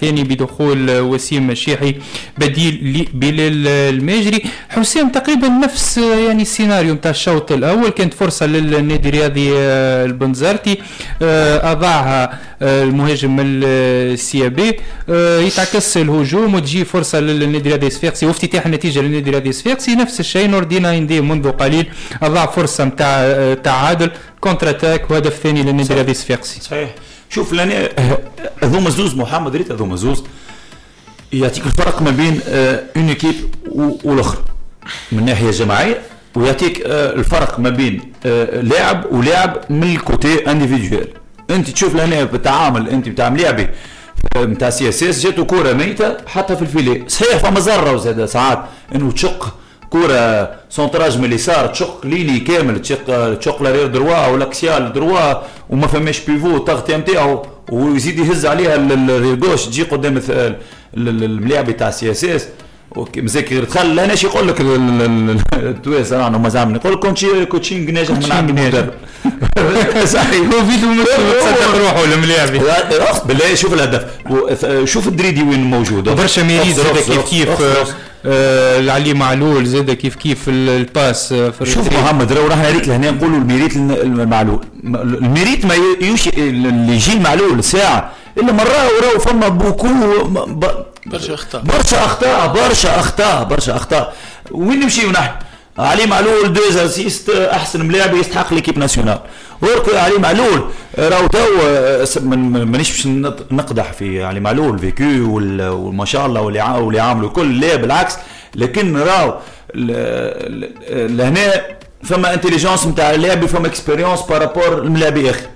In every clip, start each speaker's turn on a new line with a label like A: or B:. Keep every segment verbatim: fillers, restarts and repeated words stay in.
A: ثاني بدخول وسيم الشيحي بديل لبلال الماجري. حسام، تقريبا نفس يعني السيناريو نتاع الشوط الاول، كانت فرصة للنادي الرياضي البنزرتي اضاعها المهاجم السيابي، يتعكس الهجوم وتجي فرصة للنادي الرياضي الصفاقسي وافتتاح النتيجة للنادي الرياضي الصفاقسي. نفس الشيء نور الدين ايندي منذ قليل اضاع فرصة نتاع تعادل، contre-attaque وهدف ثاني للنادي الرياضي الصفاقسي.
B: صحيح. شوف لاني هذوما زوز محمد، ريت هذوما زوز يعطيك الفرق ما بين une équipe والاخرى من الناحية الجماعيه، ويعطيك الفرق ما بين لاعب ولاعب من ال côté individuel. انت تشوف لهنا بالتعامل انت بتاع ملاعبي نتاع CSS، جاتو كورة ميته حتى في ال filet. صحيح فما زره زاد ساعات انه تشق كورة centrage من اليسار، تشق ligne كامل، تشق تشق l'arrière droit ولا axial droit وما فماش pivot تغطيه نتاعو، ويزيد يهز عليها ال gauche تجي قدام الملاعب تاع CSS مزاك غير دخل. لهنا شي يقول لك التوانسة نحن ما زعما يقول لك coaching ناجح من عند المدرب.
A: صحيح، هو فيدو تصدق روحه الملاعبي.
B: بالله شوف الهدف، شوف الدريدي وين موجود.
A: برشا mérite زاد كيف كيف آه علي معلول زاد كيف كيف ال passe.
B: في شوف محمد، راهو راح ريت لهنا نقولوا ال mérite المعلول، ال mérite ما يوشي اللي يجي المعلول ساعة الا مرة، وراهو فما beaucoup
C: برشا اخطاء،
B: برشا اخطاء، برشا اخطاء، برشا اخطاء. وين نمشيو نحن؟ علي معلول deux assists، احسن ملاعب يستحق l'équipe nationale. ورك علي معلول راهو تو مانيش باش نقدح في علي معلول vécu وما شاء الله واللي واللي عاملوا الكل، لا بالعكس، لكن راهو لهنا فما intelligence نتاع اللاعب، فما expérience par rapport الملاعب اخر.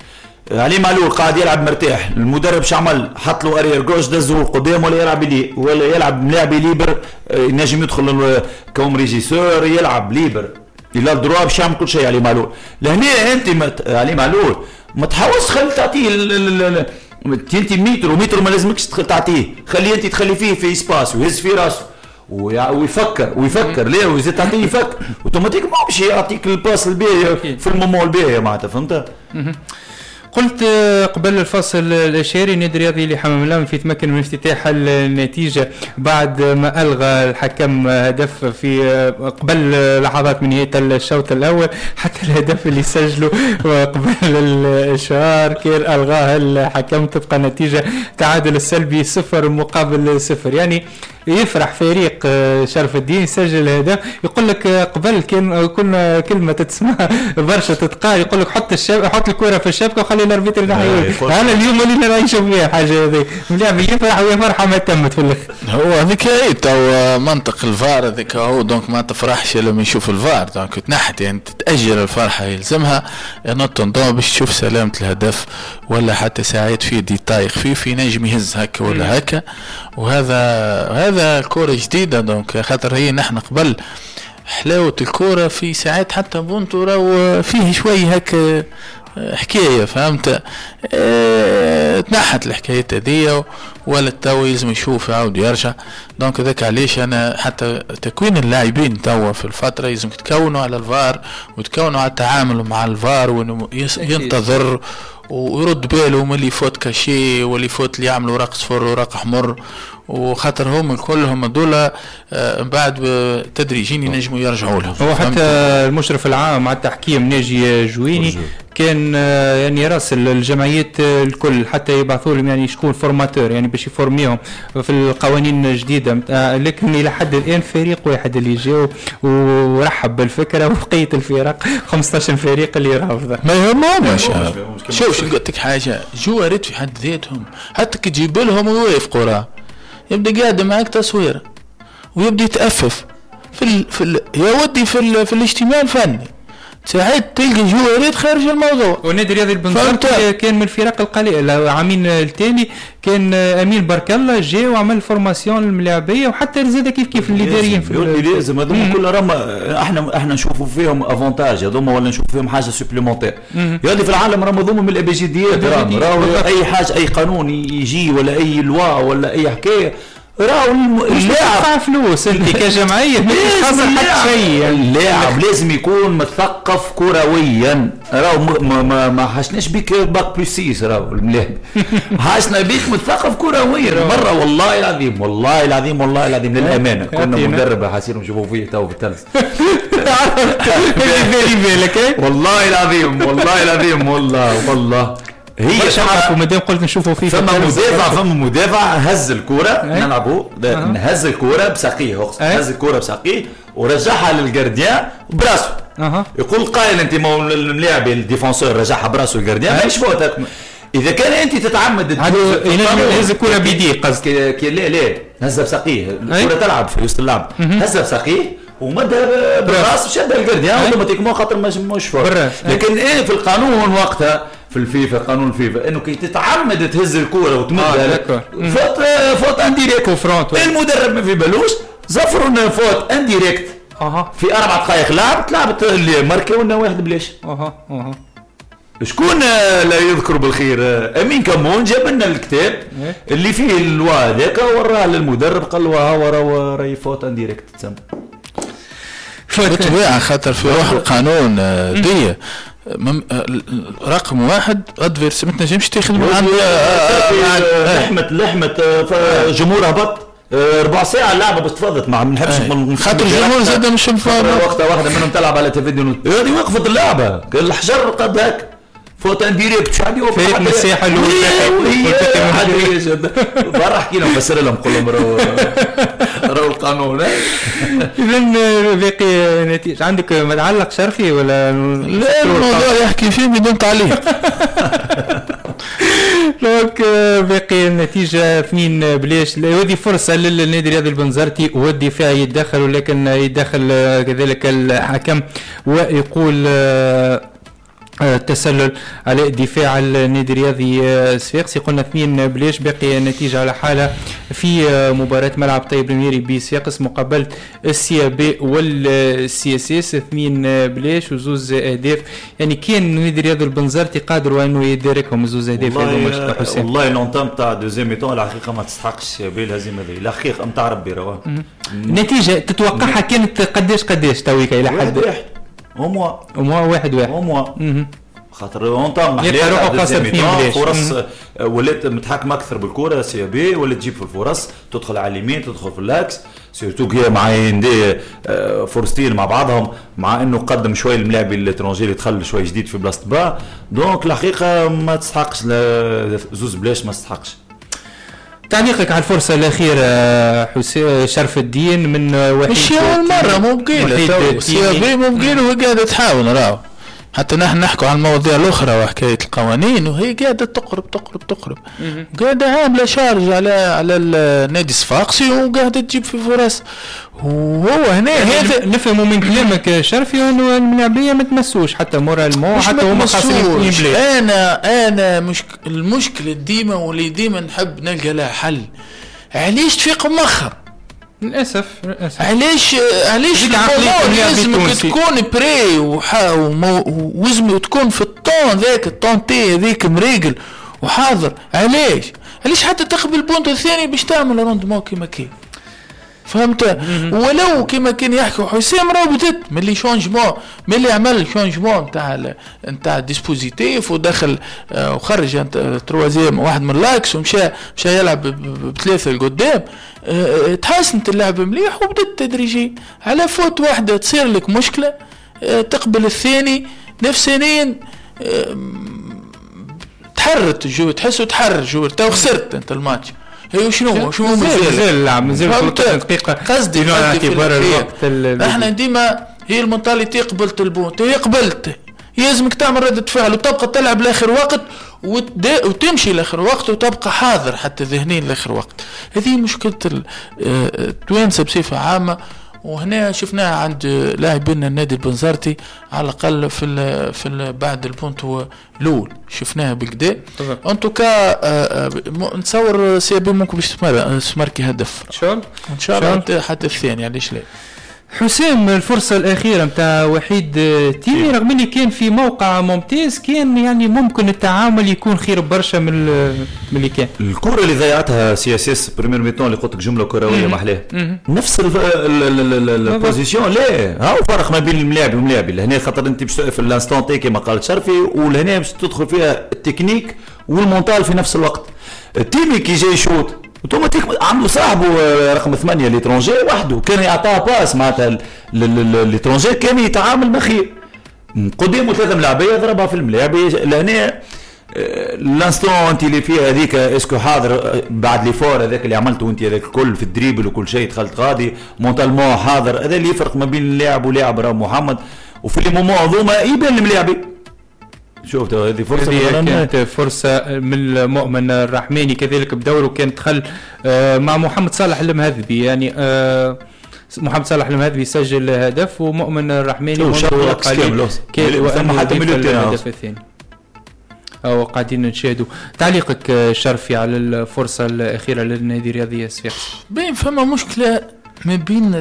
B: علي معلول قاعد يلعب مرتاح، المدرب شعمل؟ حط له arrière gauche دزه قدام ولا يلعب لي ولا يلعب ملاعب libre، ينجم يدخل comme régisseur، يلعب libre، il a le droit باش يعمل كل شيء علي معلول. لهنا انت مت... علي معلول ما تحاولش خلي تعطيه انت متر ومتر، ما لازمكش تعطيه، خليه انت تخلي فيه في espace ويهز في راسه ويفكر ويفكر ليه ويزيد تعطيه يفكر automatiquement باش يعطيك ال passe الباهي في ال moment الباهي معناتها، فهمت؟
A: قلت قبل الفصل الإشهاري النادي الرياضي لحمام الأنف يتمكن من افتتاح النتيجة بعد ما ألغى الحكم هدف في قبل لحظات من نهاية الشوط الأول. حتى الهدف اللي سجله قبل الإشهار كان ألغاه الحكم، تبقى النتيجة تعادل السلبي صفر مقابل صفر. يعني يفرح فريق شرف الدين سجل هدف، يقول لك قبل كان كنا كلمة تتسمع برشا تتقال، يقول لك حط الشب... حط الكره في الشبكة وخلي ال arbitre ينحيوه. هذا اليوم ولينا نعيشوا فيها الحاجة هذه، اللاعب يفرح ويا فرحه ما تمت في الاخر.
C: هو هذيك هي تو منطق الفار هذيك هو، donc ما تفرحش لما يشوف الفار، donc تنحت يعني تتاجل الفرحة، يلزمها نوت باش تشوف سلامه الهدف ولا حتى ساعات فيه détail خفيف ينجم يهز هكا ولا هكا. وهذا هذا الكرة جديدة، donc خاطر هي نحن قبل حلاوة الكرة في ساعات حتى بونتو راهو فيه شوي هكا حكاية، فهمت؟ اه تنحت الحكاية هذيا ولا تو يلزم يشوف يعاود يرجع. donc هذاك علاش انا حتى تكوين اللاعبين توا في الفترة يلزم تكونوا على الفار وتكونوا على التعامل مع الفار، وانه ينتظر ويرد باله من les fautes cachées و les fautes اللي يعملوا ورق صفر ورق احمر، وخاطر هم كلهم دول من بعد تدريجيا ينجموا يرجعوا لهم.
A: هو حتى المشرف العام على التحكيم ناجي جويني كان يعني راسل الجمعيات الكل حتى يبعثوا لهم يعني شكون formateur يعني باش يفورميهم في القوانين الجديدة، لكن الى حد الان فريق واحد اللي جاو ورحب بالفكرة، وبقية الفرق خمسطاش فريق اللي رافضه.
C: ما يهمهمش. شوف شو قلت لك حاجة، جواريت في حد ذاتهم حتى كي تجيب لهم ويوافقوا راه يبدا قاعد معاك تصوير ويبدا يتأفف في ال في ال يا ودي في ال في الاجتماع الفني ساعات تلقى جواريت خارج الموضوع.
A: والنادي الرياضي البنزرتي كان من الفرق القليلة عامين التالي كان امين بارك الله جا وعمل formation للملاعبيه، وحتى زاد كيف كيف الاداريين
B: في لازم هذوما كل راهم احنا احنا نشوفوا فيهم avantage هذوما ولا نشوفوا فيهم حاجة supplémentaire. يا في العالم راهم هذوما من الابجديات، راهم راهو اي حاجة اي قانون يجي ولا اي loi ولا اي حكاية راهو
A: اللاعب فلوس انت كجمعية ما تخسر حتى شيء.
B: اللاعب لازم يكون مثقف كرويا. راهو ما, ما, ما حشناش بيك bac plus six، راهو اللاعب حاشنا بيك مثقف كرويا مرة. والله العظيم والله العظيم والله العظيم للامانة كنا مدرب حاسين نشوفوا فيه تو في التلفزة والله العظيم والله العظيم والله والله
A: هي عارفه مادام قلت نشوفوا فيه.
B: فما مدافع فما مدافع هز الكره نلعبوا هز الكره بساقيه، هز الكره بساقيه ورجعها لل gardien براسه. أه. يقول قائل انت ما الملاعب ال défenseur رجعها براسه ال gardien ماهيش faute. اذا كان انت تتعمد
A: هز الكره بيديه قصدك؟
B: لا لا هزها بساقيه، الكره تلعب في وسط اللعب، هزها بساقيه ومدها بالراس وشدها ال gardien automatiquement خاطر مش faute. لكن ايه في القانون وقتها في الفيفا، قانون الفيفا انه كي تتعمد تهز الكره وتمدها آه faute faute indirecte. المدرب ما في بالوش زفروا faute indirecte اها في اربع دقائق لعب لعبت اللي ماركيو لنا واحد بلاش.
A: اها اها
B: شكون لا يذكر بالخير؟ امين كمون جاب لنا الكتاب اللي فيه ال loi هذاك وراه للمدرب قال له ها وراه راهي faute indirecte تسمى.
C: بالطبيعة خاطر في روح القانون دي رقم واحد adversaire ما تنجمش تاخذ من عند
B: لحمه لحمه جمهور هبط ربع ساعة اللعبة باش تفضت ما نحبش
C: خاطر الجمهور زاد مش مفاهم.
B: وقتها واحدة منهم تلعب على تفيديو هذه وقفت اللعبة الحجر قد هك faute indirecte شو عندي
A: فريق من الساحة
B: الاولى برا احكي لهم فسر لهم قول لهم راهو راهو القانون.
A: اذا باقي نتيجة عندك ما تعلق شرفي ولا
C: لا؟ الموضوع يحكي فيه بدون تعليق.
A: donc باقي النتيجة اثنين بلاش. وهذه فرصة للنادي الرياضي البنزرتي والدفاع يتدخل، ولكن يتدخل كذلك الحكم ويقول التسلل على دفاع النادي الرياضي الصفاقسي. قلنا اثنين بلاش، باقي النتيجة على حالها في مباراة ملعب طيب الميري بصفاقس مقابلة ال CAB وال CSS، اثنين بلاش وزوز اهداف. يعني كان النادي الرياضي البنزرتي قادر انه يداركهم زوز اهداف
B: هذوما. حسين والله l'entame تاع deuxième mi-temps الحقيقة ما تستحقش CAB الهزيمة هذه الحقيقة نتاع ربي رواه.
A: النتيجة تتوقعها كانت قداش قداش تويكا الى حد
B: واحد au moins
A: au moins واحد واحد
B: au moins خاطر entame محليه فرص ولات متحكمه اكثر بالكرة CAB، ولات تجيب في الفرص، تدخل على اليمين تدخل في l'axe surtout كي مع يندي فرصتين مع بعضهم، مع انه قدم شوية الملاعب ال étranger اللي دخل شوية جديد في بلاصة با. donc الحقيقة ما تستحقش زوز بلاش ما تستحقش.
A: تعليقك على الفرصة الأخيرة حسين شرف الدين من وحيد؟
C: مش أول مرة ممكن CAB ممكن وهي قاعدة تحاول راهو، حتى نحن نحكوا عن المواضيع الأخرى وحكاية القوانين وهي قاعدة تقرب تقرب تقرب قاعدة عاملة charge على على النادي الصفاقسي وقاعدة تجيب في فرص. وهو هنا
A: يعني
C: هذا
A: نفهموا من كلامك شرفي انه الملاعبيه ما تمسوش حتى moralement حتى هما خاسرين اثنين.
C: انا انا مش المشكلة ديما واللي ديما نحب نلقى لها حل، علاش تفيق مخر؟
A: للاسف للاسف
C: علاش علاش لازمك تكون prêt وزم وتكون في ال temps ذاك ال temps تي هذيك مريقل وحاضر. علاش علاش حتى تقبل بونت الثاني باش تعمل rendement كيما كي فهمت؟ ولو كما كان يحكي حسام راه بدت من les changements، من اللي عمل changement نتاع نتاع dispositif ودخل وخرج troisième واحد من l'axe ومشى مشى يلعب بثلاثة لقدام، تحسنت اللعب مليح وبدت تدريجيا. على faute واحدة تصير لك مشكلة تقبل الثاني نفسانيا تحرت ال joueur، تحسه تحرر ال joueur تو خسرت انت الماتش. هي شنو شنو
A: مازال اللعب مازال دقيقة
C: قصدي
A: اعتبار الوقت.
C: احنا ديما هي ال mentalité قبلت ال but هي قبلت يلزمك تعمل ردة فعل وتبقى تلعب لاخر وقت وتمشي لاخر وقت وتبقى حاضر حتى ذهنيا لاخر وقت. هذه مشكلة التوانسة بصفة عامة، وهنا شفناها عند لاعبين النادي البنزرتي على الاقل في ال في ال بعد البونت الاول شفناها بالكدا. en tout cas نتصور CAB ممكن باش تماركي هدف
A: ان شاء الله
C: ان شاء الله حتى الثاني، علاش لا.
A: حسام الفرصة الأخيرة متاع وحيد تيمي رغم اللي كان في موقع ممتاز كان يعني ممكن التعامل يكون خير برشا من من اللي كان.
B: الكرة اللي ضيعتها CSS première mi-temps اللي قلت لك جملة كروية محلاه نفس ال position، لا هاو فرق ما بين الملاعب والملاعب لهنا، خاطر انت باش في l'instant T كما قال شرفي، ولهنا باش تدخل فيها ال technique وال mental في نفس الوقت. التيمي كي جاي يشوط اوتوماتيك عنده صاحبه رقم ثمانية l'étranger وحده كان يعطاه passe معناتها l'étranger كان يتعامل مخير قدامه ثلاثة ملاعبيه ضربها في الملاعبيه. لهنا l'instant انت اللي فيها هذيك est-ce que حاضر بعد l'effort هذاك اللي عملته انت هذاك الكل في ال dribble وكل شيء دخلت غادي mentalement حاضر، هذا اللي يفرق ما بين اللاعب ولاعب راه محمد. وفي les moments هذوما يبان الملاعبي. شوف هذه فرصة
A: هذه كانت فرصة من المؤمن الرحماني كذلك بدوره كان دخل مع محمد صالح المهذبي، يعني محمد صالح المهذبي سجل هدف ومؤمن الرحماني
B: منذ قليل كان حتى
A: الهدف الثاني. أو قاعدين نشاهدوا تعليقك شرفي على الفرصة الأخيرة للنادي الرياضي الصفاقسي.
C: بين فما مشكلة ما بين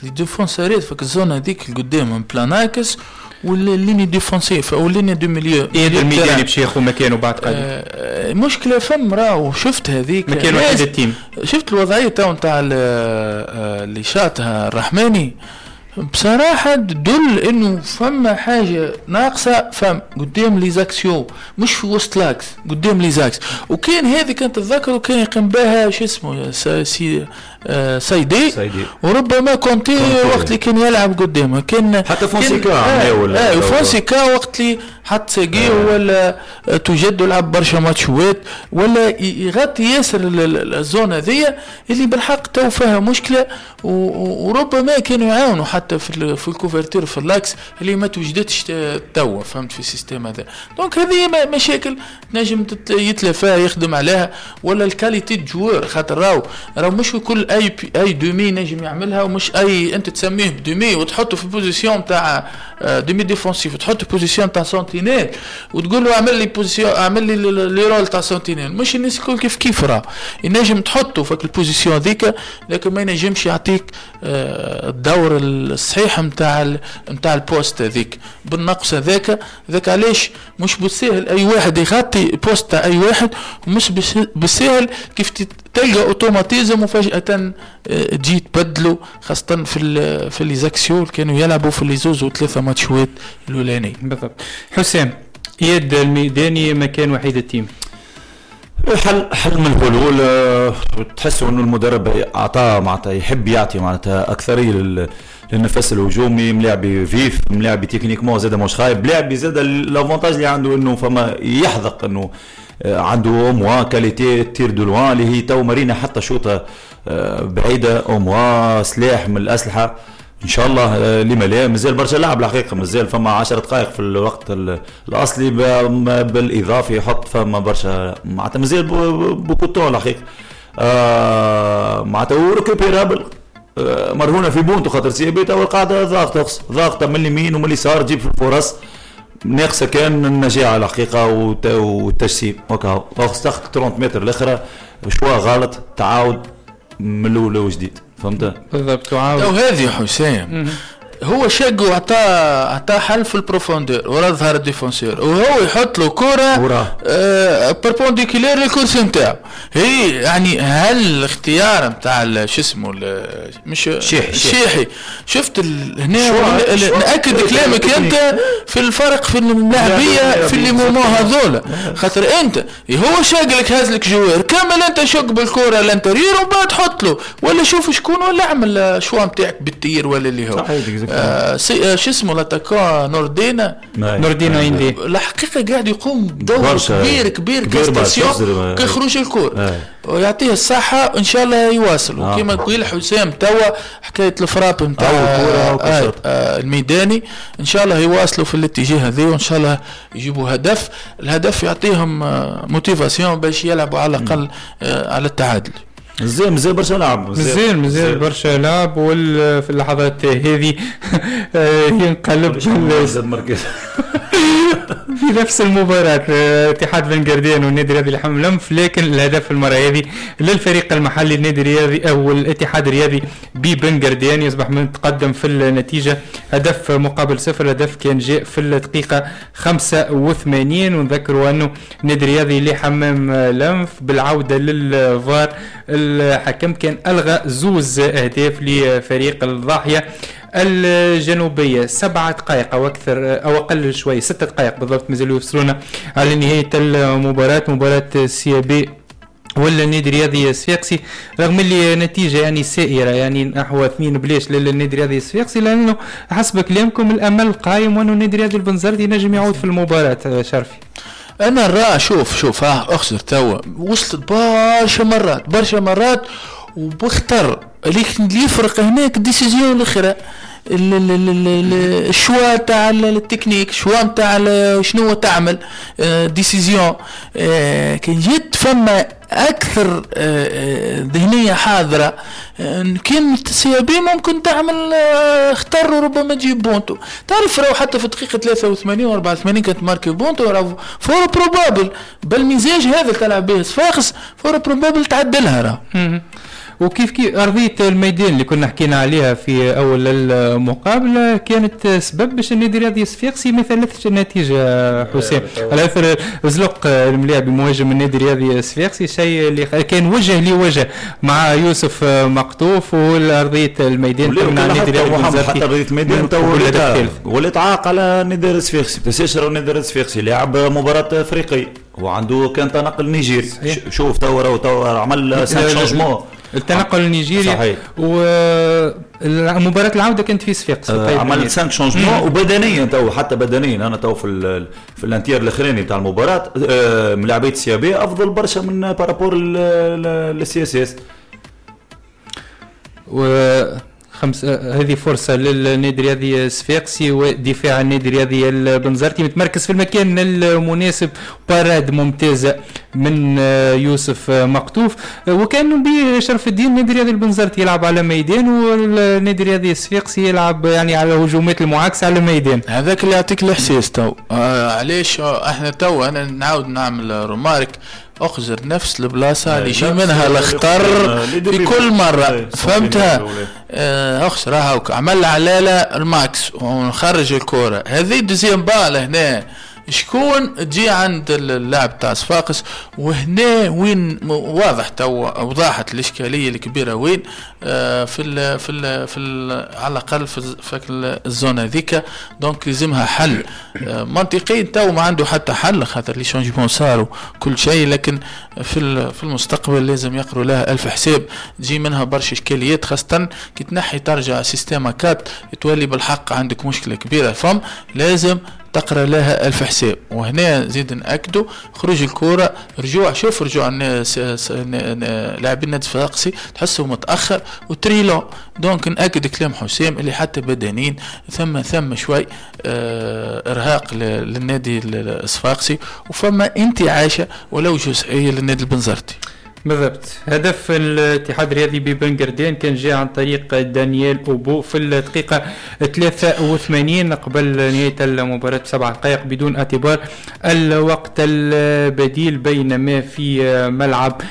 C: les défenseur ات في ال zone هذيك القدام plein axe وال ligne défensive او ligne de milieu.
A: ايه الميداني باش ياخذ مكانه بعد قليل.
C: آه مشكلة فم راهو شفت هذيك
A: مكان وحيد التيم.
C: شفت الوضعية تاع نتاع اللي شاطها الرحماني بصراحة تدل انه فما حاجة ناقصه فم قدام les axiaux مش في وسط l'axe قدام les axes. وكان هذه كانت تتذكر وكان يقوم بها شو اسمه سي آه سيدي. سيدي وربما كونتي وقت اللي كان يلعب قدامه كان
B: حتى فونسيكا
C: آه ولا آه فونسيكا وقت اللي حط ساقيه آه. ولا توجد لعب برشا ماتشوات ولا يغطي ياسر ال zone هذيا اللي بالحق تو فيها مشكلة، وربما كانوا يعاونوا حتى في في ال couverture في l'axe اللي ما توجدتش توا فهمت في ال système هذا. donc هذه مشاكل تنجم يتلافاها يخدم عليها ولا ال qualité joueur خاطر راهو راهو مش كل اي اي demi نجم يعملها، ومش اي انت تسميه demi وتحطه في position تاع demi défensif وتحطه position تاع sentinelle وتقول له اعمل لي position اعمل لي les rôles تاع sentinelle، مش الناس الكل كيف كيف راه ينجم تحطه في ال position هذيك لكن ما ينجمش يعطيك الدور الصحيح نتاع نتاع ال poste هذيك بالنقص هذاك. هذاك علاش مش بالساهل اي واحد يغطي poste تاع اي واحد، ومش بالساهل كيف تلقى automatisme وفجأة تجي تبدلوا خاصة في ال في les axiaux كانوا يلعبوا في les زوز وثلاثة ماتشوات الأولاني.
A: بالضبط. حسام إياد الميداني مكان وحيد التيم.
B: حل حل من الحلول تحسوا انه المدرب اعطاه معناتها يحب يعطي معناتها اكثرية للنفس الهجومي، ملاعبي vif، ملاعبي techniquement زاد مش خايب، لاعبي زاد l'avantage اللي عنده انه فما يحذق انه عنده au moins qualité tir de loin اللي هي تو مارينا حتى شوطه بعيدة au moins سلاح من الاسلحة ان شاء الله. لما لا مازال برشا لعب الحقيقة، مازال فما عشر دقائق في الوقت الاصلي بالاضافة يحط فما برشا معناتها مازال beaucoup de temps الحقيقة آه معناتها و récupérable آه مرهونه في بونتو خاطر CRB تو القاعدة ضاغطة ضاغطة من اليمين ومن اليسار تجيب في الفرص ناقصه كان النجاعه الحقيقة والتجسيم وكا تاخذ ثلاثين متر الاخرى choix غلط تعاود من الاول وجديد فهمت
A: بالضبط. تعاود
C: وهذه حسام هو شق وعطاه عطاه حل في ال profondeur ورا ظهر ال défenseur وهو يحط له كره آه perpendiculaire للكرسي نتاعو. هي يعني هل الاختيار نتاع شو اسمه مش
B: شيحي
C: شيحي شفت هنا ناكد كلامك انت في الفرق في اللاعبيه في les moments هذولا خاطر انت هو شاق لك هاز لك joueur كمل انت شق بالكرة l'intérieur ومن بعد حط له ولا شوف شكون ولا اعمل choix نتاعك بال tir ولا اللي هو آه سي آه شو اسمه l'attaquant نوردينا
A: نوردينا عندي
C: الحقيقة قاعد يقوم بدور كبير كبير كاستاسيون كيخرج الكور ويعطيه الصحة ان شاء الله يواصل. آه. وكما يقول حسام توا حكاية ال frappe نتاع آه آه الميداني ان شاء الله يواصلوا في الاتجاه هذا وان شاء الله يجيبوا هدف. الهدف يعطيهم motivation باش يلعبوا على الاقل آه على التعادل.
B: مازال مازال برشا لعب
A: مازال مازال برشا لعب وفي اللحظات هذه ينقلب
B: زاد مركز
A: في نفس المباراة اتحاد بن قردان والنادي الرياضي لحمام الأنف، لكن الهدف المرة هذه للفريق المحلي النادي الرياضي أو الاتحاد الرياضي ببن قردان، يصبح متقدم في النتيجة هدف مقابل صفر. هدف كان جاء في الدقيقة خمسة وثمانين. ونذكروا أنه النادي الرياضي لحمام الأنف بالعودة للفار الحكم كان ألغى زوز أهداف لفريق الضاحية الجنوبية. سبعة دقائق أو أكثر أو أقل شوي، ستة دقائق بالضبط مازالوا يفصلونا على نهاية المباراة، مباراة سي بي ولا النادي الرياضي الصفاقسي، رغم اللي نتيجة يعني سائرة يعني نحو اثنين بلاش للنادي الرياضي الصفاقسي، لأنه حسب كلامكم الأمل قايم وأنه النادي الرياضي البنزرتي نجم يعود في المباراة. شرفي
C: أنا راه شوف شوف ها أخسر توا وصلت برشا مرات برشا مرات وبختر، لكن اللي يفرق هناك décision الاخرى ال choix تاع ال technique، choix تاع شنو تعمل décision. كان جيت فما اكثر ذهنية حاضره كان CAB ممكن تعمل اختر وربما تجيب بونتو. تعرف راهو حتى في دقيقة ثلاثة وثمانين و أربعة وثمانين كانت marqué بونتو، راهو fort probable بالمزاج هذا تلعب به صفاقس fort probable تعدلها راه.
A: وكيف كيف أرضية الميدان اللي كنا حكينا عليها في أول المقابلة كانت سبب باش النادي الرياضي الصفاقسي ما ثلثش النتيجة حسام، على أثر زلق الملاعب مهاجم النادي الرياضي الصفاقسي، شيء اللي كان وجه لوجه مع يوسف مقطوف والأرضية الميدان
B: تمنع النادي الرياضي حتى أرضية الميدان ولات عاق على النادي الصفاقسي. تنساش راه النادي الصفاقسي لعب مباراة أفريقية وعنده كان تنقل نيجيري، شوف تو تو عمل cinq changements
A: التنقل النيجيري صحيح. ومباراة العودة كانت في صفاقس
B: آه عمل cinq changements وبدنيا تو حتى بدنيا انا تو في ال في ال un tiers الاخراني تاع المباراة آه ملاعبيه CAB افضل برشا من par rapport لل CSS.
A: و خمس هذه فرصة للنادي الرياضي الصفاقسي ودفاع النادي الرياضي البنزرتي متمركز في المكان المناسب، parade ممتازة من يوسف مقطوف، وكان بشرف الدين النادي الرياضي البنزرتي يلعب على ميدان والنادي الرياضي الصفاقسي يلعب يعني على هجومات المعاكسة على ميدان.
C: هذاك اللي يعطيك الإحساس تو. آه علاش احنا تو انا نعاود نعمل remarque، اخزر نفس البلاصة اللي يجي منها الخطر في كل مرة، فهمتها؟ اخزر هاوك عمل علاله الماكس ونخرج الكره هذه deuxième balle هنا شكون تجي عند اللاعب تاع صفاقس، وهنا وين واضح تو وضحت الاشكالية الكبيرة وين آه في ال في ال في ال على الاقل في, في ال zone هذيك. donc لازمها حل آه منطقي. تو ما عنده حتى حل خاطر les changements صاروا كل شيء، لكن في في المستقبل لازم يقروا لها الف حساب. تجي منها برشا اشكاليات خاصة كي تنحي ترجع système à quatre تولي بالحق عندك مشكلة كبيرة، فم لازم تقرا لها الف حساب. وهنا زيد ناكدوا خروج الكره، رجوع شوف رجوع الناس لاعبين النادي الصفاقسي تحسه متاخر و très lent. donc ناكد كلام حسام اللي حتى بدنيا ثم ثم شوي اه ارهاق للنادي الصفاقسي وفما انتعاشه ولو جزئية للنادي البنزرتي.
A: بالضبط. هدف الاتحاد الرياضي ببن قردان كان جاء عن طريق دانيال أوبو في الدقيقة ثلاثة وثمانين قبل نهاية المباراة بسبع دقائق بدون اعتبار الوقت البديل. بينما في ملعب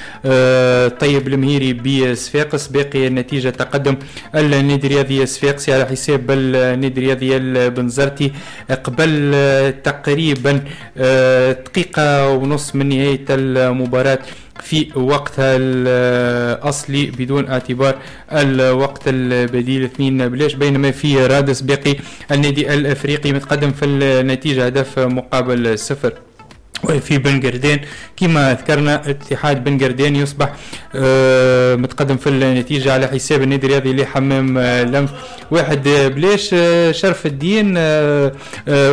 A: طيب المهيري بصفاقس باقي النتيجة تقدم النادي الرياضي الصفاقسي على حساب النادي الرياضي البنزرتي قبل تقريبا دقيقة ونص من نهاية المباراة في وقتها الأصلي بدون اعتبار الوقت البديل اثنين بلاش. بينما في رادس باقي النادي الأفريقي متقدم في النتيجة هدف مقابل صفر. وفي بن قردان كما ذكرنا اتحاد بن قردان يصبح متقدم في النتيجة على حساب النادي الرياضي لحمام لنف واحد بلاش. شرف الدين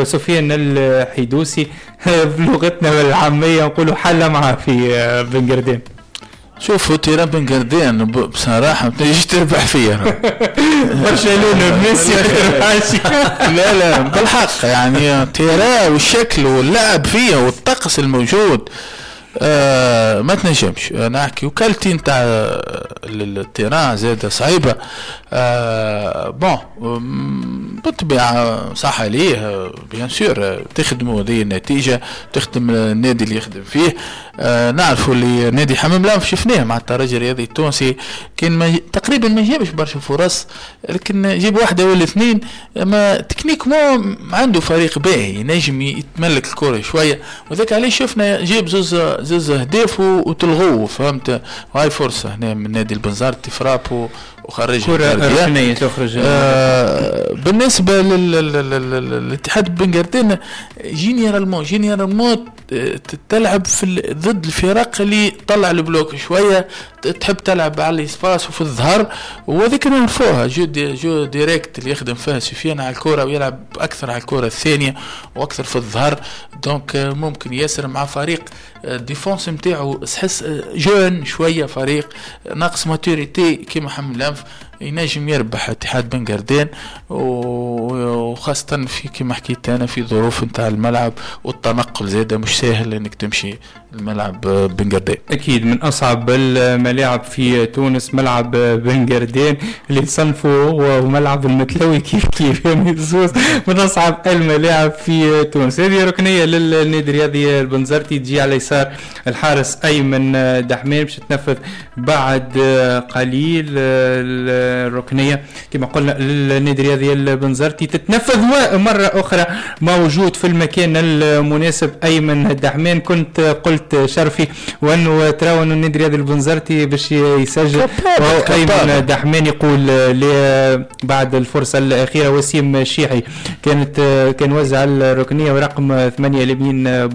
A: سفيان الحيدوسي بلغتنا العامية نقولوا حل معه في بن قردان.
C: شوفوا terrain بن قردان بصراحة ما تجيش تربح فيه
A: برشلونة بميسي
C: لا لا بالحق يعني terrain والشكل واللعب فيه والطقس الموجود آه ما تنجمش نحكي، و qualité نتاع ال terrain زاد صعيبة. آه bon بالطبيعة صح عليه bien sûr تخدموا هذه النتيجة، تخدم النادي اللي يخدم فيه. آه نعرفوا اللي نادي حمام الأنف شفناه مع الترجي الرياضي التونسي كان ما تقريبا ما جابش برشا فرص، لكن جاب واحدة ولا اثنين، اما techniquement عنده فريق باهي ينجم يتملك الكره شوية، وذاك علاش شفنا جاب زوز زوز اهداف وتلغوه، فهمت؟ وهاي فرصة هنا من نادي البنزرتي frappe وخرجها
A: كرة ركنية تخرج.
C: آه بالنسبة للاتحاد بن قردان généralement généralement تلعب في ضد الفرق اللي طلع ال bloc شوية، تحب تلعب على ال espace وفي الظهر، وهذيك نعرفوها jeu di jeu direct اللي يخدم فيها سفيان على الكره ويلعب اكثر على الكره الثانية واكثر في الظهر. donc ممكن ياسر مع فريق défense نتاعو تحس jeune شوية، فريق ناقص maturité كيما حمام الأنف، ينجم يربح اتحاد بن قردان، وخاصة في كما حكيت أنا في ظروف نتاع الملعب والتنقل زادة مش ساهل انك تمشي الملعب بن قردان.
A: أكيد من أصعب الملاعب في تونس ملعب بن قردان اللي تصنفه هو وملعب المتلوي كيف كيف، يعني زوز من أصعب الملاعب في تونس. هذه ركنية للنادي الرياضي البنزرتي تجي على يسار الحارس أيمن دحمان باش تنفذ بعد قليل. الركنية كما قلنا للنادي الرياضي البنزرتي تتنفذ، ومرة أخرى موجود في المكان المناسب أيمن دحمان. كنت قلت شرفي وأنه تراو أنه النادي الرياضي البنزرتي باش يسجل، أيمن دحمان يقول بعد الفرصة الأخيرة وسيم الشيحي كانت كان وزع الركنية ورقم ثمانية لمين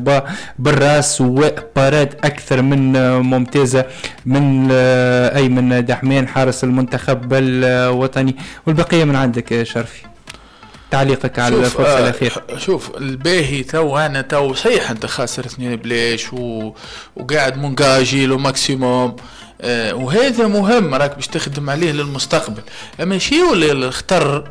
A: بالراس، و parade أكثر من ممتازة من أيمن دحمان حارس المنتخب الوطني. والبقية من عندك شرفي، تعليقك على الفرصة الأخيرة.
C: شوف الباهي تو أنا تو صحيح أنت خاسر اثنين بلاش و... وقاعد مونجاجي le maximum، آه وهذا مهم راك باش تخدم عليه للمستقبل. أما شيء ولا الخطر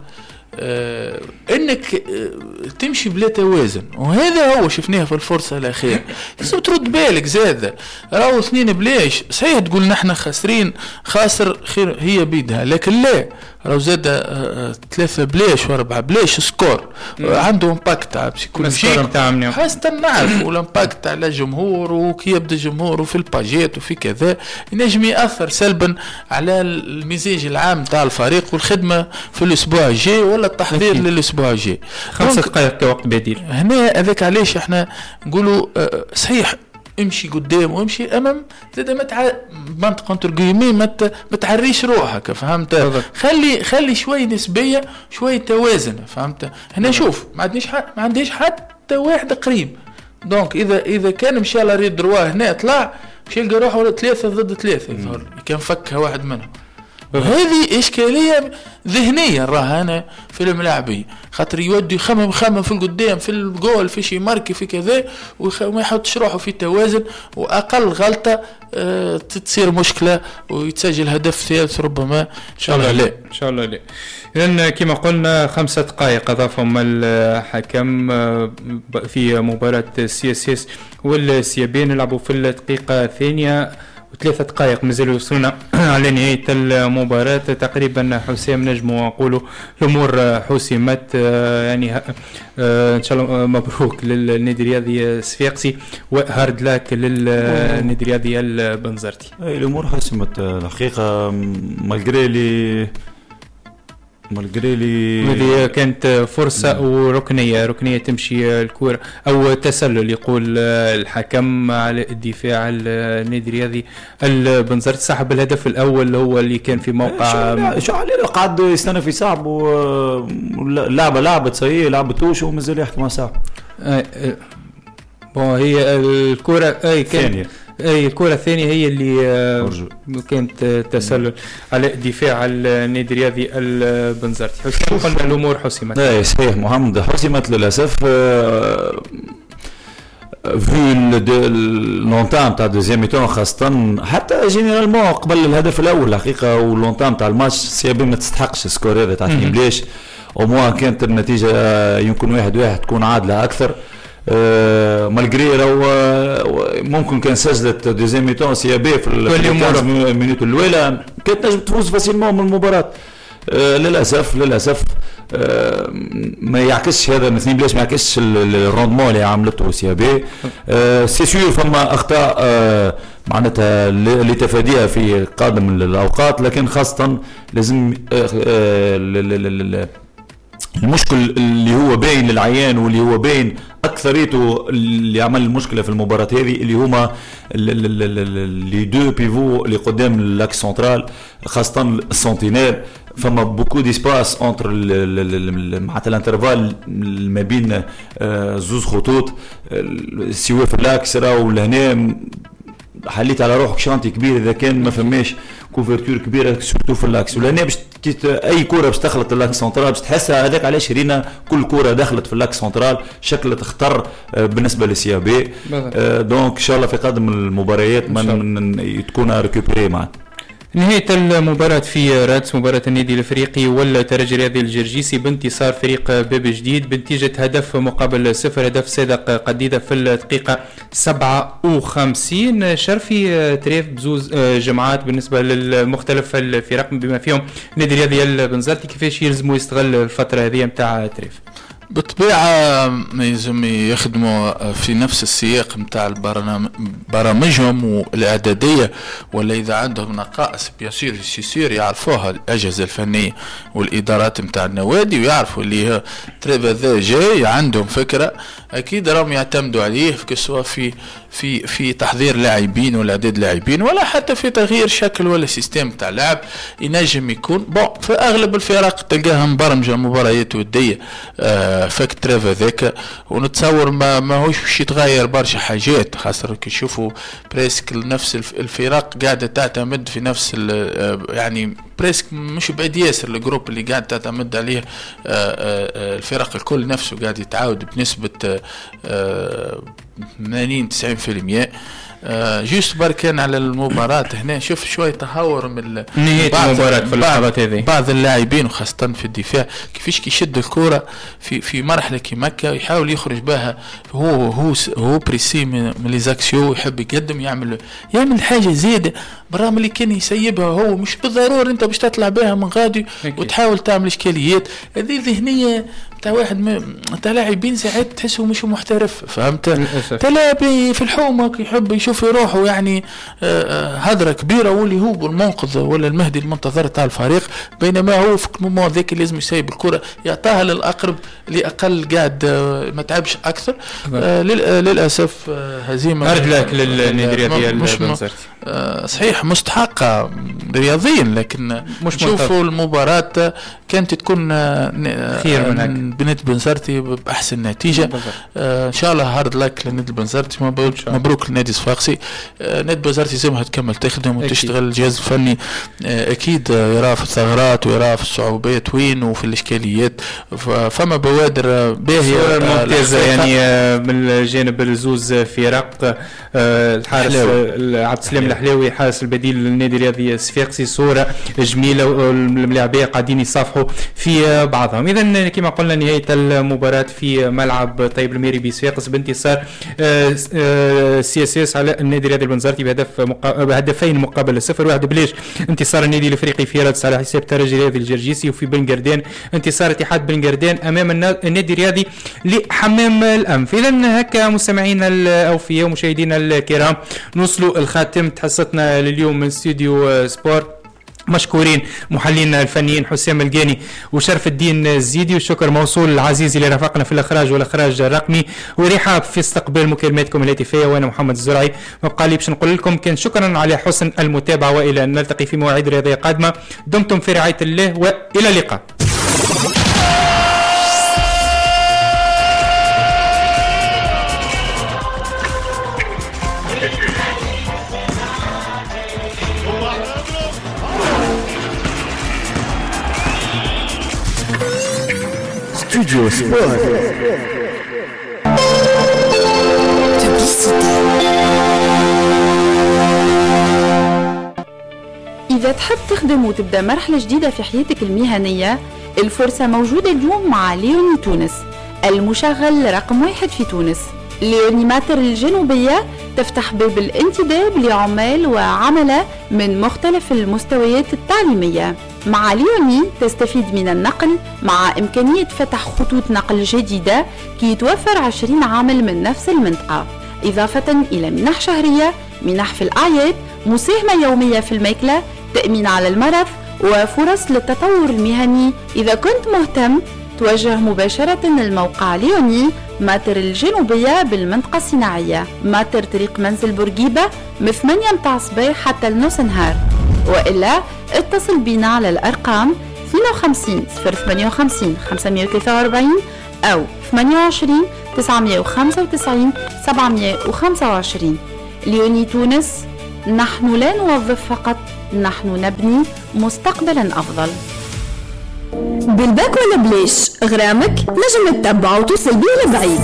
C: آه انك آه تمشي بلا توازن، وهذا هو شفناه في الفرصة الاخيرة. لازم ترد بالك زاد، راهو اثنين بلاش صحيح تقول نحن خاسرين، خاسر خير هي بيدها، لكن لا راهو زاد آه ثلاثة بلاش واربعة بلاش score عنده impact على psychologique، خاصة نعرف وال impact على الجمهور، وكي يبدا الجمهور وفي الباجيت وفي كذا ينجم ياثر سلبا على المزاج العام تاع الفريق والخدمة في الاسبوع الجاي ولا التحضير للاسبوع الجاي.
A: خمسة دقائق كوقت بديل
C: هنا. هذاك علاش احنا نقولوا صحيح امشي قدام وامشي امام، زاد ما تع... منطقة entre guillemets ما تعريش روحك، فهمت؟ خلي خلي شوي نسبيه، شوي توازن، فهمت؟ هنا شوف ما عندنيش ح... ما عنديش حتى واحد قريب، donc اذا اذا كان مشى l'arrière droit هنا طلع مشى يلقى روحه ثلاثة ضد ثلاثة، يظهر كان فكها واحد منهم. هذه إشكالية ذهنية راها أنا في الملاعبية، خاطر يودي يخمم خمم في القدام في الجول في شي marquer في كذا، وما يحطش روحه في توازن، وأقل غلطة أه تصير مشكلة ويتسجل هدف ثالث ربما. إن شاء الله لا،
A: إن شاء الله لا. إذن كما قلنا خمسة دقائق أضافهم الحكم في مباراة سي اس اس والسيابين، لعبوا في الدقيقة الثانية وثلاثة دقائق مازالوا يوصلونا على نهاية المباراة تقريبا. حسام نجموا نقولوا الأمور حسمت، يعني إن شاء الله مبروك للنادي الرياضي الصفاقسي و hard luck للنادي الرياضي البنزرتي.
B: الأمور حسمت الحقيقة malgré les malgré les
A: هذه كانت فرصة وركنية، ركنية تمشي الكرة أو تسلل يقول الحكم على الدفاع النادي الرياضي البنزرتي. صاحب الهدف الأول هو اللي كان في موقع
B: شو عليه قعد يستنى في صعب، واللعبة لعبت صحيح لعبتوش ومازال يحكي مع صعب.
A: bon هي الكرة أي كانت اي الكرة الثانية هي اللي كانت تسلل على دفاع النادي الرياضي البنزرتي. حسام قلنا الامور حسمت.
B: اي صحيح محمد حسمت للاسف في l'entame تاع deuxième mi-temps، خاصة حتى généralement قبل الهدف الاول الحقيقة، و l'entame تاع الماتش سيابي ما تستحقش ال score هذا تاع اثنين بلاش، au moins كانت النتيجة يمكن واحد واحد تكون عادلة اكثر. آه malgré راهو ممكن كان سجلت deuxième mi-temps CAB في ال minutes الاولى كانت تنجم تفوز facilement من المباراة. آه للاسف للاسف آه ما يعكسش هذا الاثنين بلاش، ما يعكسش ال rendement اللي عملته CAB. آه c'est sûr فما اخطاء آه معناتها اللي تفاديها في قادم الاوقات، لكن خاصة لازم آه آه المشكل اللي هو باين للعيان واللي هو باين اكثريته اللي عمل المشكلة في المباراة هذه اللي هما les deux pivots اللي قدام l'axe central، خاصة ال sentinelle. فما beaucoup d'espaces entre معناتها l'intervalle ما بين زوز خطوط سواء في l'axe راهو لهنا حليت على روحك chantier كبير اذا كان ما فماش couverture كبيرة surtout في l'axe. ولهنا باش اي كره باش تخلط l'axe central باش تحسها، هذاك علاش رينا كل كره دخلت في l'axe central شكلت خطر بالنسبة لل CAB. donc ان شاء الله في قادم المباريات من تكون récupéré معناتها.
A: نهاية المباراة في رادس، مباراة النادي الافريقي والترجي الرياضي الجرجيسي بانتصار فريق باب جديد بنتيجة هدف مقابل صفر، هدف صادق قديدة في الدقيقة سبعة وخمسين. شرفي trêve بزوز جمعات بالنسبة للمختلف الفرق بما فيهم النادي الرياضي البنزرتي، كيفاش يلزموا يستغل الفترة هذه نتاع trêve؟
C: بالطبيعة يلزم يخدموا في نفس السياق متاع برامجهم والإعدادية، ولا إذا عندهم نقائص bien sûr c'est sûr يعرفوها الأجهزة الفنية والإدارات متاع النوادي، ويعرفوا اللي trêve هذا جاي عندهم فكرة أكيد راهم يعتمدوا عليه سواء في في في تحضير لاعبين ولا إعداد لاعبين ولا حتى في تغيير شكل ولا système تاع لعب ينجم يكون. bon في أغلب الفرق تلقاها مبرمجة مباريات ودية آه فك trêve هذاك، ونتصور ما ماهوش باش يتغير برشا حاجات، خاطر كي نشوفوا presque نفس الفرق قاعدة تعتمد في نفس يعني presque مش بعيد ياسر ال groupe اللي قاعد تعتمد عليه الفرق الكل نفسه قاعد يتعاود بنسبة ثمانين تسعين في المية. juste بركان على المباراة هنا شوف شوية تهور من
A: نهاية المباراة في اللحظات هذه
C: بعض اللاعبين وخاصة في الدفاع كيفاش كيشد الكرة في في مرحلة كيما هكا يحاول يخرج بها، هو هو هو pressé من les axiaux، يحب يقدم يعمل يعمل حاجة زيادة برغم اللي كان يسيبها هو مش بالضرورة انت باش تطلع بها من غادي وتحاول تعمل اشكاليات. هذه ذهنية تاع واحد تاع لاعبين ساعات تحسه مش محترف، فهمت؟ تلاعب في الحومه يحب يشوف روحه يعني هدره كبيرة واللي هو المنقذ ولا المهدي المنتظر تاع الفريق، بينما هو في ال moment ذاك لازم يسيب الكره يعطاها للاقرب اللي اقل قاعد ما تعبش اكثر. للاسف هزيمة
A: hard luck للنادي الرياضي البنزرتي،
C: صحيح مستحقه رياضيا، لكن شوفوا المباراة كانت تكون
A: خير من هكا
C: بنادي بنزرتي باحسن نتيجة. آه ان شاء الله hard luck لنادي بنزرتي، مبروك لنادي صفاقسي. آه نادي بنزرتي لازمها تكمل تخدم وتشتغل، الجهاز الفني آه اكيد يرى في الثغرات ويرى في الصعوبات وين وفي الاشكاليات، فما بوادر باهيه
A: ممتازة يعني من الجانب الزوز فرق. آه الحارس عبد السلام الحلاوي حارس البديل للنادي الرياضي الصفاقسي، صوره جميلة والملاعبيه قاعدين يصافحوا في بعضهم. اذا كما قلنا نهاية المباراة في ملعب طيب الميري بصفاقس بانتصار CSS على النادي الرياضي البنزرتي بهدف مقا... بهدفين مقابل صفر، واحد بلاش انتصار النادي الافريقي في رادس على حساب ترجي الرياضي الجرجيسي، وفي بن قردان انتصار اتحاد بن قردان امام النادي الرياضي لحمام الانف. اذا هكا مستمعينا الاوفياء ومشاهدينا الكرام نوصلوا الخاتم حصتنا لليوم من استوديو سبور. مشكورين محللين الفنيين حسام الجاني وشرف الدين الزيدي، والشكر موصول العزيز اللي رافقنا في الاخراج والاخراج الرقمي، ورحاب في استقبال مكالماتكم الهاتفية، وانا محمد الزرعي ما بقى لي باش نقول لكم كان شكرا على حسن المتابعة، والى ان نلتقي في مواعيد رياضية قادمة. دمتم في رعاية الله والى اللقاء.
D: Studio Sport.
E: إذا تحب تخدم وتبدأ مرحلة جديدة في حياتك المهنية، الفرصة موجودة اليوم مع ليوني تونس، المشغل رقم واحد في تونس. ليوني ماتر الجنوبية تفتح باب الانتداب لعمال وعملة من مختلف المستويات التعليمية. مع ليوني تستفيد من النقل مع إمكانية فتح خطوط نقل جديدة كي يتوفر عشرين عامل من نفس المنطقة، إضافة إلى منح شهرية، منح في الأعياد، مساهمة يومية في الماكلة، تأمين على المرض، وفرص للتطور المهني. إذا كنت مهتم توجه مباشرة للموقع ليوني ماتر الجنوبية بالمنطقة الصناعية، ماتر طريق منزل بورقيبة من ثمانية متاع الصباح حتى النص نهار، وإلا اتصل بنا على الأرقام اثنين وخمسين صفر ثمانية وخمسين خمسمية وثلاثة وأربعين أو ثمانية وعشرين تسعمية وخمسة وتسعين سبعمية وخمسة وعشرين. ليوني تونس، نحن لا نوظف فقط، نحن نبني مستقبلا أفضل.
F: بالباك ولا بلاش غرامك نجم تتبع وتوصل بيه لبعيد.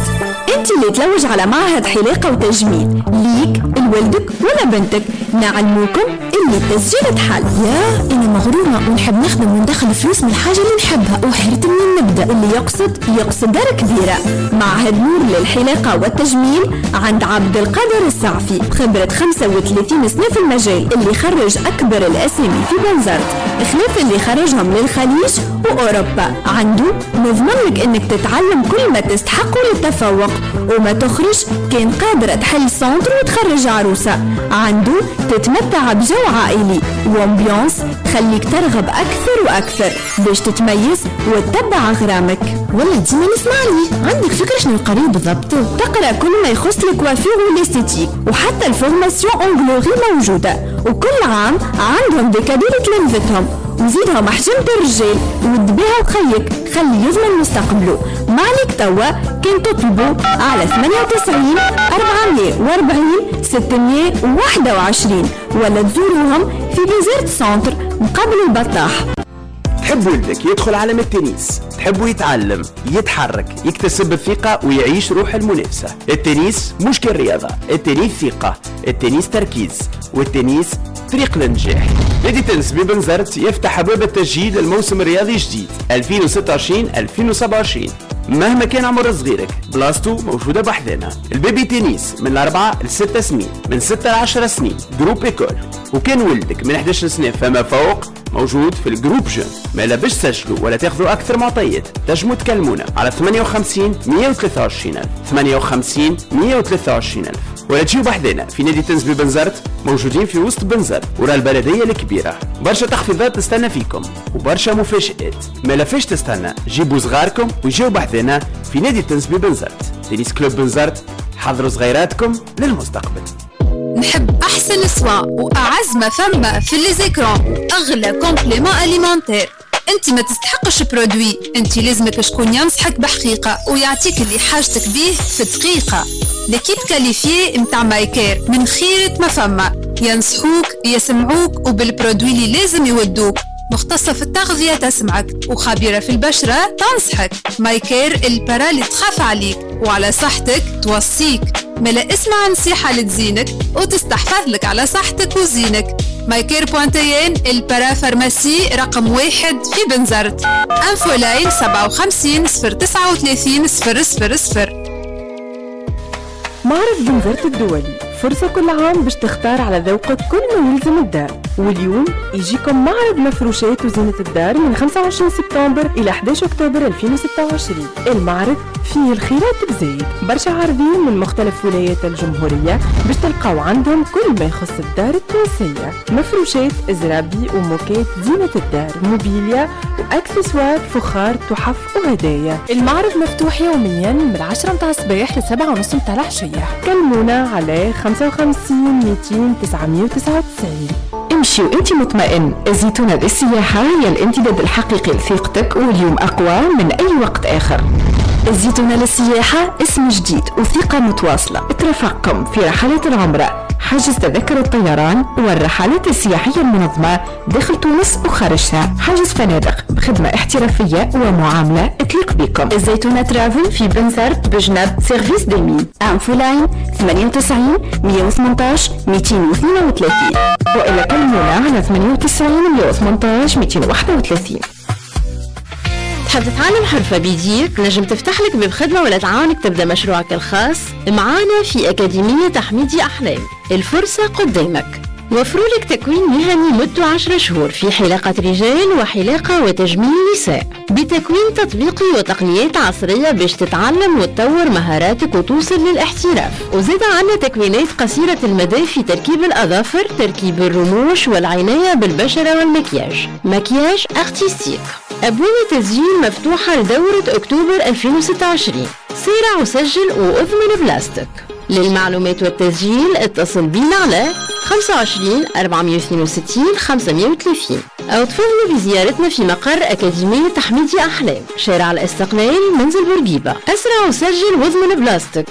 F: انت اللي تلوج على معهد حلاقة وتجميل ليك لولدك ولا بنتك، نعلموكم اللي التسجيل تحل.
G: يا انا مغرومة ونحب نخدم وندخل فلوس من الحاجة اللي نحبها وحرت منين نبدا.
F: اللي يقصد يقصد دار كبيرة. معهد نور للحلاقة والتجميل عند عبد القادر السعفي، خبرة خمسة وثلاثين سنة في المجال، اللي خرج أكبر الأسامي في بنزرت خلاف اللي خرجهم للخليج وأوروبا. عنده نضمن لك انك تتعلم كل ما تستحقه للتفوق وما تخرج كان قادرة تحل centre وتخرج عروسة. عنده تتمتع بجو عائلي و ambiance تخليك ترغب أكثر وأكثر باش تتميز وتتبع غرامك.
G: والله ديما نسمع لي. عندك فكرة شنو القريب بالضبط؟
F: تقرأ كل ما يخص ال coiffure وال esthétique، وحتى ال formation onglerie موجودة، وكل عام عندهم des cadeaux لتلامذتهم. وزيدهم حجمة الرجال ودبيها وخيك خلي يضمن مستقبله. ما عليك توا كان تطلبوا على ثمانية وتسعين أربعمية وأربعين ستمية وواحد وعشرين ولا تزوروهم في بنزرت centre مقابل البطاح.
D: تحب ولدك يدخل عالم التنس، تحبه يتعلم، يتحرك، يكتسب الثقة ويعيش روح المنافسة. التنس مش كالرياضة، التنس ثقة، التنس تركيز، والتنس طريق للنجاح. نادي تنس ببنزرت يفتح أبواب التسجيل للموسم الرياضي الجديد ألفين وستة وعشرين ألفين وسبعة وعشرين. مهما كان عمر صغيرك بلاصتو موجودة بحذنا. ال baby tennis من الأربعة لستة سنين، من ستة لعشرة سنين groupe école، وكان ولدك من إحدى عشر سنة فما فوق موجود في ال groupe jeune. ما لا باش تسجلوا ولا تاخذوا أكثر معطيات تنجموا تكلمونا على ثمانية وخمسين مية وثلاثة وعشرين ألف، ثمانية وخمسين مية وثلاثة وعشرين ألف، ولا تجيو بحذنا في نادي تنس ببنزرت، موجودين في وسط بنزرت ورا البلدية الكبيرة. برشا تخفيضات تستنى فيكم وبرشا مفاجآت، ما لفاش تستنى، جيبوا صغاركم ويجيو بحذنا في نادي تنس ببنزرت. tennis club بنزرت، حضروا صغيراتكم للمستقبل.
H: نحب أحسن soin وأعز ما فما في les écrans، أغلى complément alimentaire. أنت ما تستحقش produit، أنت لازمك شكون ينصحك بحقيقة ويعطيك اللي حاجتك بيه في دقيقة. l'équipe qualifiée متاع مايكير من خيرة ما فما، ينصحوك يسمعوك وبال produit اللي لازم يودوك. مختصة في التغذية تسمعك وخبيرة في البشرة تنصحك. مايكير ال para اللي تخاف عليك وعلى صحتك توصيك. ملا اسمع نصيحة لتزينك وتستحفظ لك على صحتك وزينك. مايكير بوانتين ال parapharmacie رقم واحد في بنزرت. infoline سبعة وخمسين صفر تسعة وثلاثين صفر صفر صفر.
I: معرض بنزرت الدولي فرصة كل عام باش تختار على ذوقك كل ما يلزم الدار، واليوم يجيكم معرض مفروشات وزينة الدار من خمسة وعشرين سبتمبر إلى أحد عشر أكتوبر ألفين وستة وعشرين. المعرض فيه الخيرات بزايد، برشا عارضين من مختلف ولايات الجمهورية باش تلقاو عندهم كل ما يخص الدار التونسية، مفروشات، زرابي وموكات، زينة الدار، موبيليا واكسسوار، فخار، تحف وهدايا. المعرض مفتوح يوميا من عشرة متاع الصباح لسبعة ونص متاع العشية. كلمونا على خمسة وخمسين مئتين تسعمية وتسعة وتسعين.
J: امشي وانت مطمئن، الزيتونة للسياحة هي الامتداد الحقيقي لثقتك، واليوم أقوى من أي وقت آخر. الزيتونة للسياحة اسم جديد وثقة متواصلة ترافقكم في رحلات العمرة، حجز تذاكر الطيران والرحلات السياحية المنظمة داخل تونس وخارجها، حجز فنادق بخدمة احترافية ومعاملة تليق بكم.
E: الزيتونة ترافل في بنزرت بجنب service des mines. infoline ثمانية وتسعين مية وثمانطاش مئتين واثنين وثلاثين،
J: وإلا كلمونا على ثمانية وتسعين مية وثمانطاش مئتين وواحد وثلاثين.
K: تحب تتعلم حرفة بيديك نجم تفتح لك باب خدمة ولا تعاونك تبدأ مشروعك الخاص؟ معانا في أكاديمية حميدي أحلام، الفرصة قدامك. وفروا لك تكوين مهني مدته عشرة شهور في حلاقة رجال وحلاقة وتجميل نساء، بتكوين تطبيقي وتقنيات عصرية باش تتعلم وتطور مهاراتك وتوصل للاحتراف. وزاد عنا تكوينات قصيرة المدى في تركيب الأظافر، تركيب الرموش، والعناية بالبشرة والمكياج، maquillage artistique. أبواب التسجيل مفتوحة لدورة أكتوبر ألفين وستة وعشرين. سارع وسجل وأضمن بلاستك. للمعلومات والتسجيل اتصل بينا على خمسة وعشرين أربعمية واثنين وستين خمسمية وثلاثين أو تفضلوا بزيارتنا في مقر أكاديمية حميدي أحلام، شارع الاستقلال، منزل بورقيبة. أسرع وسجل واضمن بلاستك.